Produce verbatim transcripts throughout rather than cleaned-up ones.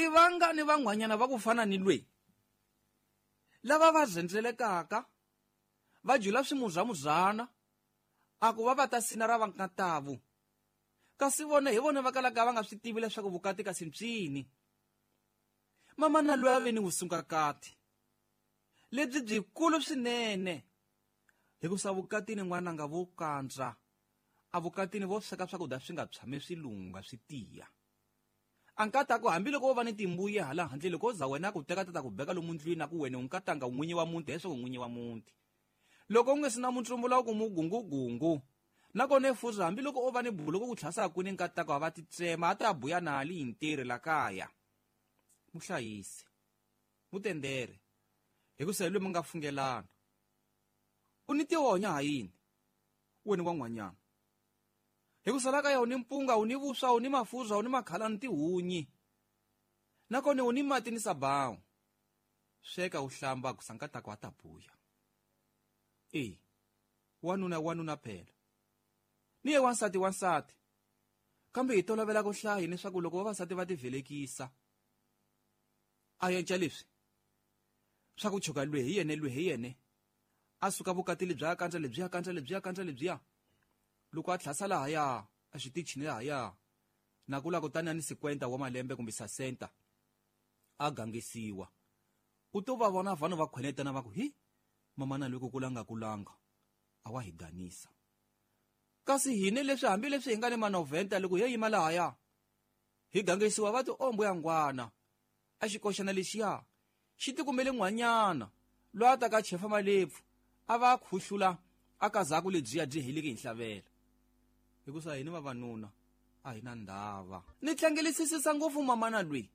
I vangani van'wanyana va ku fana ni lweyi lava va zendzelekaka va jula swimuzamuzana a ku va va ta sina ra vankatavu kasi vona hi vona va kalaka va nga swi tivi leswaku vukati kasi mpyini. Mamana loyi a ve ni vusungakati lebyi byikulu swinene hikusa vukatini n'wananga vo kandza a vukatini vo sweka swakudya swi nga tshami swi lungha swi tiya. A nkatako hambiloko wo va ni timbuya hala handle loko za wena ku teka tata ku beka lomu ndlwini a ku wena u nkatanga n'winyi wa muti leswaku n'winyi wa muti loko u nga si na muntsumbula ku mugungugungu nakona efuza hambiloko o va ni buluko ku tlhasa kwini nkatako a va ti tsema a ta buya na ali hi ntirho la kaya. Muhlayisi mutendere hikusa hi loyi mi nga fungelana u ni tihonya ha yini wena wa n'wanyana hikusa la kaya u ni mpunga u ni vuswa u ni mafuza u ni makhala ni tihunyi nakona u ni mati ni sabawu sweka u hlamba ku sankatako a ta buya. E wanuna wanuna phela ni ye wansati wansati kambe hi tolovela ku hlaya leswaku loko vavasati va tivelekisa a yenca leswi swa ku chuka lwe hi yene lwe hi yene a suka vukati lebyi kandza lebyiya kandza lebyiya kandza lebyiya loko a tlhasa lahaya a xitichini lahaya na kula kutani a ni sikwenta wa malembe kumbe sasenta a gangisiwa u to va vona vanhu va khwenetana va ku hi mamana loko kulanga kulanga a wa hi danisa kasi hine leswi hambileswi hi nga ni manoventa loko hi yima lahaya hi gangisiwa va ti ombo ya ngwana a xikoxana lexiya xi tikumele n'wanyana loyi a ta ka chefa malepfu a va khuhlula a kazaku lebyiya byi heleke hi nhlavela hikusa hini vavanuna a hi na ndhava. Ni tlangelisisisa ngopfu mamana lweyi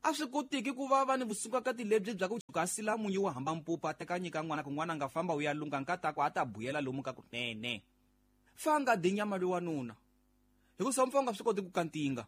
a swi kotiki ku va va ni vusungakati lebyi bya ku chuka sila munyu wa hamba mpupa a teka nyika n'wana ku n'wana a nga famba u ya lunga nkatako a ta buyela lomu ka kunene fa nga di nyama loyi wanuna hikusa mpfa u nga swi koti ku kantinga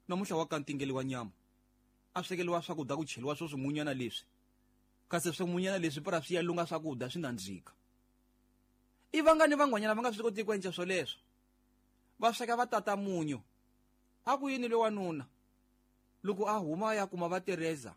namuntlha wa kantingeliwa nyama a swekeliwa swakudya ku cheliwa swo swimunyana leswi kasi swimunyana leswi para swi ya lunga swakudya swi nandzika. I vangani van'wanyana va nga swi koti ku endla swoleswo va sweka va tata munyu a ku yini loyi wanuna loko a huma ya kuma va Teresa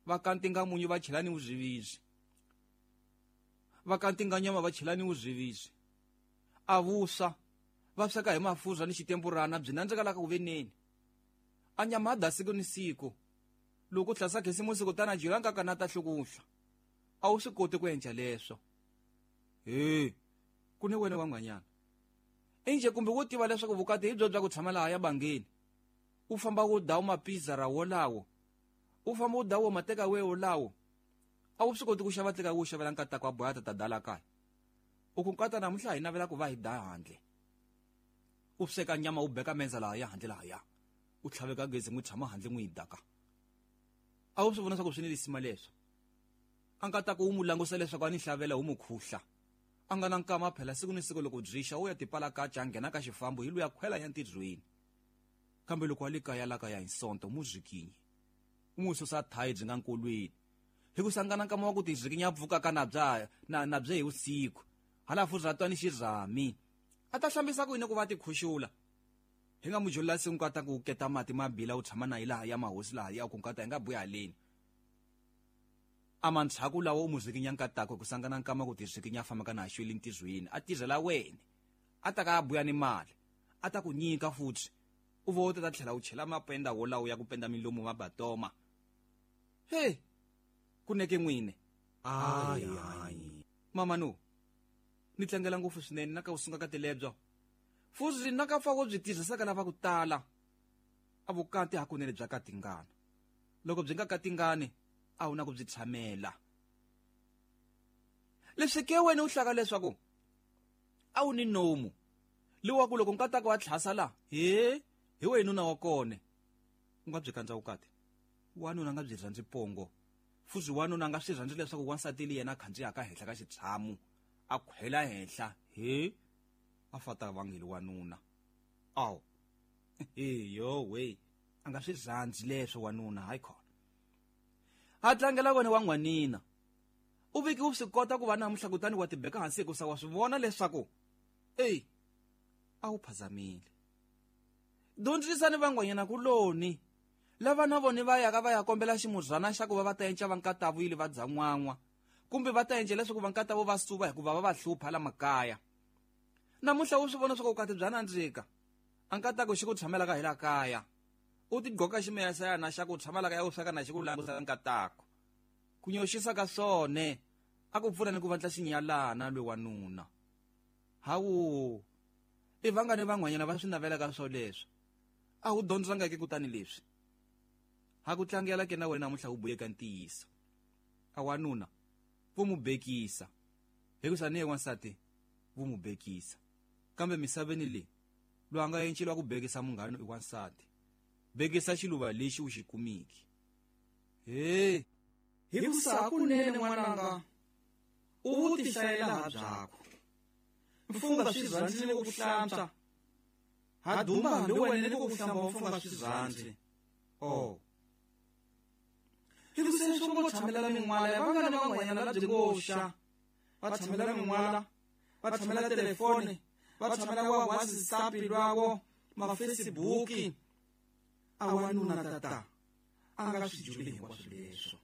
va kantinga munyu va chela ni vuzviviswi va kantinga nyama va chela ni vuzviviswi a vuswa va sweka hi mafuza ni xitempurana byi nandzika la ka ku veneni a nyama da siku ni siku loko tlhasa khisimusi kutani a jela nkaka na ta hlukuhla a wu swi koti ku endla leswo he ku ni wena wa n'wanyana inje kumbe wo tiva leswaku vukati hi byo bya ku tshama laha ya bangeni u famba u dawu mapiza ra wolawo u famba u dawu mateka we wolawo a wu swi koti ku xava teka wo xavela nkatako a boya ta ta dala kaya u ku nkata namuntlha hi navela ku va hi da handle u sweka nyama u beka menza laha ya handle lahaya u tlhaveka gezi n'wi tshama handle n'wi yi daka a wu swi vona swa ku swi ni lisima leswo a nkatako wu mu langusa leswaku a ni hlavela wu mu khuhla a nga na nkama phela siku ni siku loko byixa u ya tipala kaca a nghena ka xifambo hi luya khwela ya ntirhweni kambe loko a le kaya la kaya hi sonto mu zwikinyi u n'wi susa thayi byi nga nkolweni hikusa nga na nkama wa ku tizwikinya pfukaka na bya na na bye hi vusiku hala futhi ra twa ni xirhami a ta hlambisa ku yini ku va ti khuxula hi nga mujula siku nkata ku keta mati mabila u tshama na hi laha ya mahosi laha ya ku nkata hi nga buya haleni a mantshaku lawa u muzwikinya nkatako ku sangana nkama ku tizwikinya fambaka na xweli ntirhweni a tirhela wena a ta ka a buya ni mali a ta ku nyika futhi u vo ta tlhela u chela mapenda wolawo ya ku penda milomu mabatoma he kuneke n'wine ayi ayi mama no ni tlangela ngopfu swinene na ka u sunga ka tilebyo futhi na ka fa wo byi tirhisaka lava ku tala a vukati hakunene bya katingana loko byi nga katingani a wu na ku byi tshamela leswi ke wena u hlaka leswaku a wu ni nomu lowa ku loko nkatako wa tlhasa la he hi wena nuna wa kone u nga byi kandza vukati wanuna nga byi rhandzi pongo futhi wanuna nga swi rhandzi leswaku wansati li yena a khandziyaka henhla ka xitshamu a khwela henhla he a fata vangeli wanuna aw he yo we a nga swi rhandzi leswo wanuna hayi khona a tlangela wena wa n'wanina u viki u swi kota ku va namuntlha kutani wa tibeka hansi hikusa wa swi vona leswaku eyi a wu phazamile dyondzisani van'wanyana kuloni Lava na vona va yaka va ya kombela ximuzana xa ku va va ta enca vankatavu yile va dzan'wan'wa kumbe va ta enca leswaku vankatavu va suva hikuva va va hlupha la makaya. Namuntlha u swi vona swa ku vukati bya nandzika a nkatako xi ku tshamelaka hi la kaya u tigqoka ximeyasayana xa ku tshamelaka ya u sweka na xi ku langusa nkatako ku nyoxisa ka swone a ku pfuna ni ku vandla xinyalana lwe wanuna. Hawu i vangani van'wanyana va swi navelaka swoleswo a wu dyondzangeke kutani leswi ha ku tlangela ke na wena namuntlha wu buyeka ntiyiso a wanuna vo mu bekisa hikusa ni ye wansati vo mu bekisa kambe misaveni leyi loyi a nga enceliwa ku bekisa munghana i wansati bekisa xiluva lexi u xi kumiki. He hikusa hakunene n'wananga u vu tihlayela ha byakho mfunga swi rhandzi ni ku hlantswa ha duma hambi wena ni ku hlamba mfunga swi rhandzi oh hikusa leswi ngo tshamela min'wala ya vangani van'wanyana la byi ngo xa va tshamela min'wala va tshamela telefoni va tshamela wa WhatsApp lwawo ma Facebook a wanuna tata a nga swi juli hinkwaswo leswo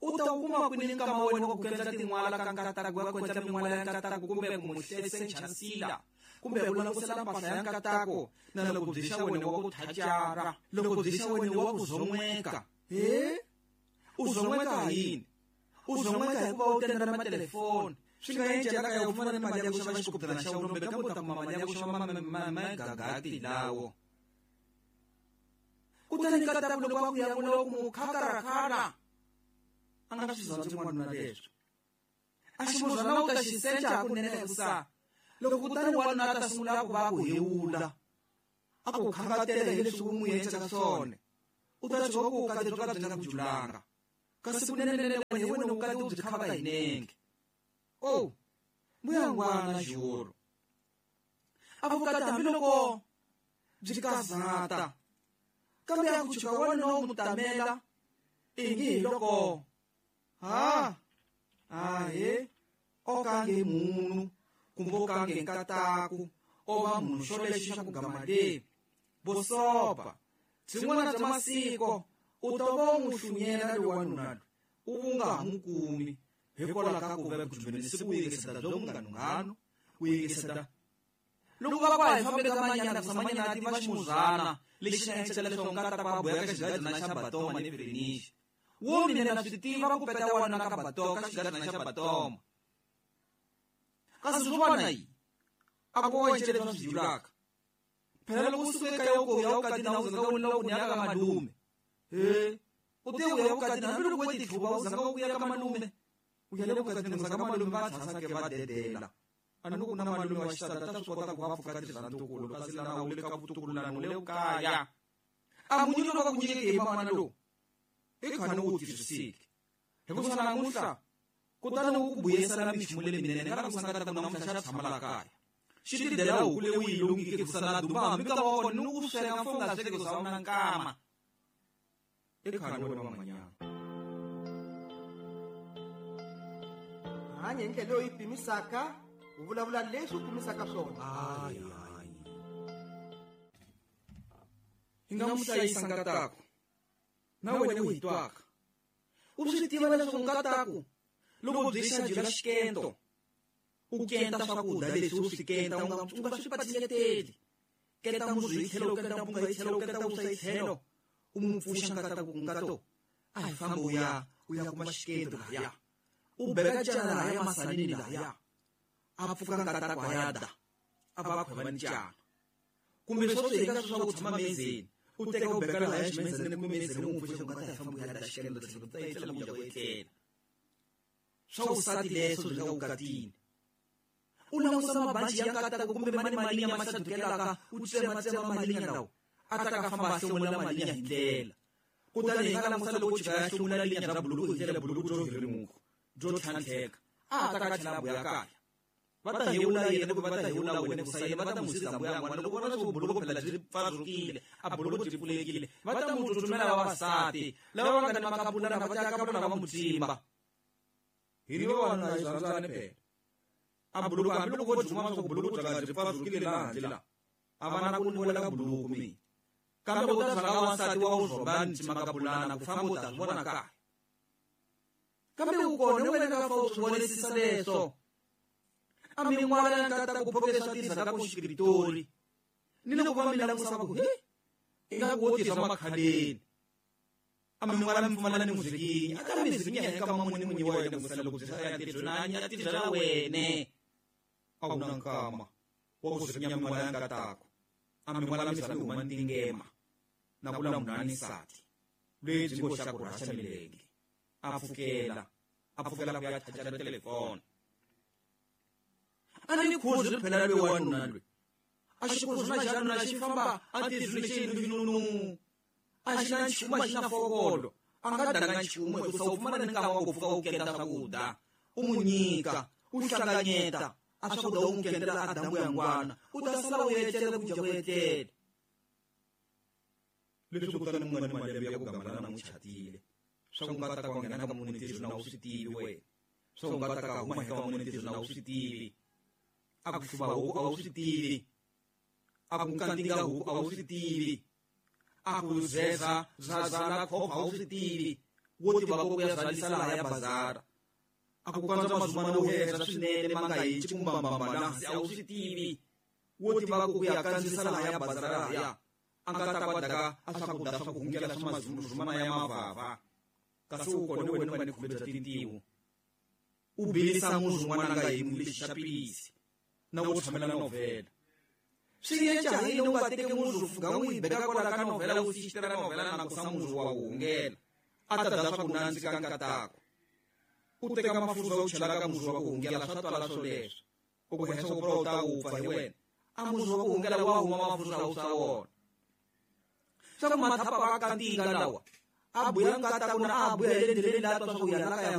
u ta kuma kwini nkama wena wa ku endla tin'wala ka nkatako wa ku endla min'wala ya nkatako kumbe ku mu hlesenchansila kumbe ku langutisela mpahla ya nkatako na loko byi xa wena wa ku thacara loko byi xa wena wa ku zon'weka he u zon'weka yini u zon'weka hikuva u tendela matelefoni swi nga encela ka ya ku fana ni mali ya ku xava xikoputana xa wena kumbe kambe u ta kuma mali ya ku xava magagati lawo kutani nkatako loko a ku ya vula ku mu khakarakara a nga swi rhandzi n'wanuna leswo a ximuzana u ta xi senca hakunene hikusa loko kutani wanuna a ta sungula ku va ku hewula a ku khangatela hi leswi u n'wi endlaka swona u ta tshuka ku vukati byo ka byi nga ku julanga kasi kunenenene hi wena vukati u byi khavaka hi nenge oh mbuyangwana juro a vukati hambiloko byi kazata kambe a ku tshuka wanuna u mu tamela ingi hi loko ha ahe o kange munhu kumbe o kange nkataku o va munhu xo lexi xa ku gama le bosopa byin'wana bya masiko u ta va u n'wi hlunyela loyi wanuna loyi u nga ha n'wi kumi hikwalaho ka ku va ku jumbeni ku yingiseta byo munghanunghanu ku yingiseta loko va va hi fambe ka manyana ku manyana a tiva ximuzana lexi nga encela leswaku nkatako a boya ka xigadzana xa batoma ni fenixi wo mina na swi tiva ku peta wanuna ka batoma ka xigadzana xa batoma kasi swo vona yi a ku wa encela leswi swi julaka phela loko u suka ekaya u ku ya vukatini a wu zanga u lava ku ya ka malume he u te u ya vukatini hambiloko u tihluva u zanga u ya ka malume u ya le vukatini u zanga malume va tshasake va dedela a ni ku na malume wa xisati ta swi kota ku va pfuka tirhantukulu kasi lana u le ka vutukululani u le kaya a munyu loko ku nyike hi man'wana lowu i khani u wu tirhisiki hikusa namuntlha kutani wu ku buyisela minchumu leminene nga langusa nkatako namuntlha xa tshama la kaya xi tidela huku leyi u yi lungike kusa na duma hambi ka wa kona ni ku sweka mfo nga sweki kusa wu na nkama i khani wena van'wanyana hanya hi ndlela leyi u yi pimisaka u vulavula leswi u pimisaka swona. Hayi hayi hi nga mu hlayisa nkatako na wena u hi twaka u swi tiva leswaku nkatako loko byi xa jula xikento u kenta swakudya leswi u swi kenta u nga u nga swi patinyeteli kenta muzu hi tlhelo kenta mpunga hi tlhelo kenta vuswa hi tlhelo u mu pfuxa nkatako nkato a hi fambi u ya u ya kuma xikento lahaya u beka cana lahaya masanini lahaya a pfuka nkatako a ya da a va khweva ni cana kumbe swo swi eka swa ku tshama mezeni u teka u beka lahaya ximezeni kumbe mezeni u n'wi pfuxa nkata hi fambi u ya da xikento tlhelo ta etlela ku ya ku etlela swa vusati leswo byi nga vukatini u langusa mabanci ya nkatako kumbe mani malinya ma xadukelaka u tsematsema malinya lawa a ta ka famba a hlomula malinya hi ndlela kutani hi nga langusa loko chika ya hlomula linya bya buluku hi ndlela buluku byo hirimuka byo tlhantlheka a ta ka tlhela buya kaya va ta hewula yena kumbe va ta hewula wena ku sayena va ta n'wi siza mbuya n'wana loko vona swo buluku phela byi pfazukile a buluku byi pfulekile va ta n'wi tsutsumela vavasati lava va nga ni makapulana va ta kapulana va mu tsimba hi ri vavanuna hi rhandzani phela a buluku hambiloko vo duma swa ku buluku bya nga byi pfazukile laha handle laha a va na ku ni wela ka buluku mina Kambe u ta rhanga wansati wa wu rhomba ni ximakabulana ku famba u ta swi vona kahle. Kambe u kona wena nga fa u swi vonisisa leswo. A min'wala ya nkata ku phokesa tirhisa ka ku xikritori. Ni loko va mi langusa va ku he ingaku wo tirhisa makhaleni. A min'wala mi pfumala ni muzikinya. A ka mizikinya eka mamuni munyi wa wena ku loko byi ya tirhisa na ya tirhisa wene. A wu na nkama wa ku zikinya min'wala ya nkatako. A min'wala mi zami huma ntingema. Na kula munhu a ni nsati. Lebyi ngo xa ku rhasa milenge. A pfukela. A pfukela ku ya chajara telefoni. A ni khuzi ri phela loyi wanuna loyi. A xi khuzi na xana na xi famba a tirhisa xi nunu. A xi na nchumu a xi na fokolo. A nga danga nchumu hikusa u pfumala ni nkama wa ku pfuka u kenda swakudya. U mu nyika, u hlanganyeta. A swakudya u n'wi kendela a dambu ya ngwana. U ta sala u etlela ku dya ku etlela. Leswi kutani mu nga ni malembe ya ku gamalana n'wi chatile. Swa ku nga ta ka nghena ka munhu ntirho na u swi tivi wena. Swa ku nga ta ka huma eka munhu ntirho na u swi tivi. A ku hluva huku a wu swi tivi. A ku kantinga huku a wu swi tivi. A ku zeza zazala khopha a wu swi tivi. Wo tiva ku ya zalisa laha ya bazara. A ku kandza mazumana wo heza swinene ma nga hi chikumbambamba la hansi a wu swi tivi. Wo tiva ku ya kandzisa laha ya bazara lahaya. A nga ta kwa daka a swakudya swa ku hungela swa mazumana ya mavava. Kasi u kona wena u nga ni khume bya tintiho. U bilisa muzi n'wana nga hi lexi xa pilisi. Na wo tshamela novhela. Swi yenca hi yini u nga teki muzi u fika u yi beka kwala ka novhela u xixitela novhela na ku sa muzi wa wu hungela. A ta dya swa ku nandzika nkatako. U teka mafurha u chela ka muzi wa ku hungela swa twala swoleswo. U ku henhla ku u ta wupfa hi wena. A muzi wa ku hungela wa huma mafurha u swa wona. Swa ku mathapa va kantinga lawa. A buya nkatako na a buya hi le ndleleni laha twa swa ku ya la kaya.